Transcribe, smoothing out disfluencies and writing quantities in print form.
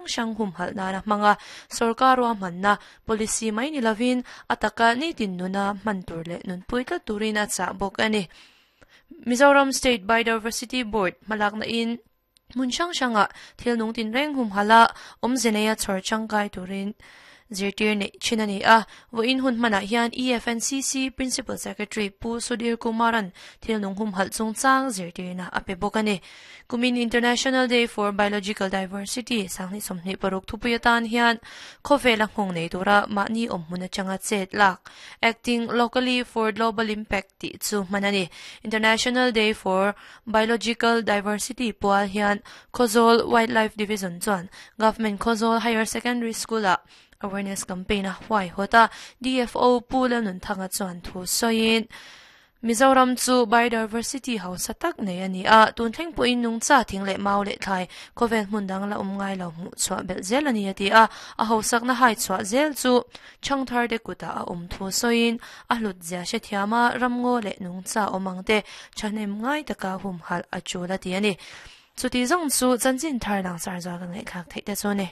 hrang humhalh nana hmanga sorkar ruahmanna policy mai ni lovin a taka nitin nuna hman tur leh nunpui tlat turin a chah bawk a ni. Mizoram State Biodiversity Board hmalakna in hmun hrang hrangah thil nung tinreng humhalh a awmze neia chhawr tangkai turin zirtir neih thin a ni a. Vawiin hun hmanah hian EFNCC Principal Secretary Pu Sudhir Kumaran thil nung humhalh chungchang zirtirna a pe bawk a ni. Kumin International Day for Biological Diversity 2026 thupui atan hian khawvela nghawng nei tura mahni awm hmun atanga chet lak, Acting Locally for Global Impact tih chu hman a ni. International Day for Biological Diversity pual hian Khawzawl Wildlife Division chuan Government Khawzawl Higher Secondary School-ah awareness campaign a huaihawt a, DFO Pu Lalnunthanga chuan thu sawiin, Mizoram chu biodiversity hausa tak nei a ni a, tun thleng pawhin nungcha thing leh mau leh thlai khawvel hmun dang la awm ngai lo hmuh chhuah belh zel a ni a ti a, a hausakna hai chhuah zel chu chhangthar te kutah a awm thu sawiin a hlut zia hrethiam a, ramngaw leh nungcha awm ang te thahnem ngai taka humhalh a tul a ti a ni. Chuti zawng chu chanchin thar langsar zual kan ngaihthlak theih te chu a ni.